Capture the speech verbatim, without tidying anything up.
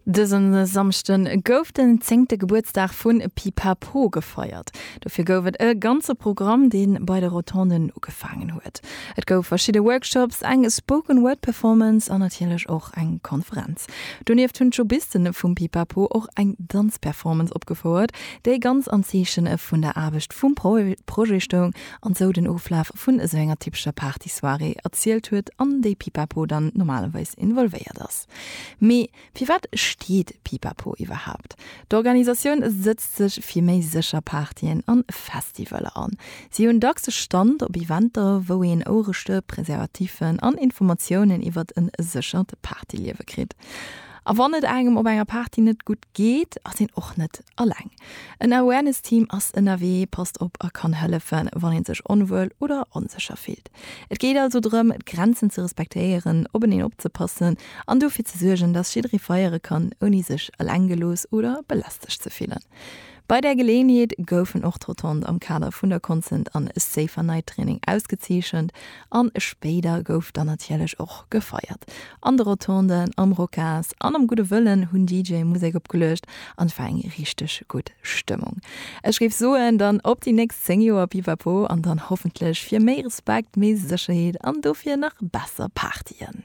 Dësen Samschden gouf den zéngte Gebuertsdag vun Pipapo gefeiert. Dofir gouf et e ganze Programm, dee bei de Rotonden ugefaangen huet. Et gouf verschidde Workshops, eng Spoken Word Performance an natierlech och eng Konferenz. Donieft hunn d'Jobisten vum Pipapo och eng Danzperformance opgefouert, déi ganz am Zeechen vun der Aarbecht vum Projet stoung an sou den Oflaf vun esou enger typescher Party-Soirée erzielt huet, an déi Pipapo dann normalerweis involvéiert ass. Mee firwat steet Pipapo iwwerhaapt? D'Organisatioun sëtzt sech fir méi sécher Partyen an Festivaller an. Si hunn dacks e Stand op Eventer, wou een Ouerestëpp, Preservativen an Informatiounen iwwert e séchert Partyliewe kritt. A wann et engem op enger Party net gutt geet, ass een och net alleng. En Awareness-Team ass ënnerwee, passt op a kann hëllefen, wann een sech onwuel oder onsécher fillt. Et geet also drëm, d'Grenzen ze respektéieren, openeen opzepassen an dofir ze suergen, dass jidderee feiere kann, ouni sech eleng gelooss oder belästegt ze fillen. Bei där Geleeënheet goufen och d'Rotonde am Kader vun der Consent an Safer Night Training ausgezeechent an spéider gouf dann natierlech och gefeiert. An de Rotonden, am Rocas an am Gudde Wëllen hunn DJe Musek opgeluecht an et war eng richteg gutt Stëmmung. Ech géif soen, dann op déi nächst zéng Joer Pipapo an dann hoffentlech fir méi Respekt, méi Sécherheet an dofir nach besser Partyen.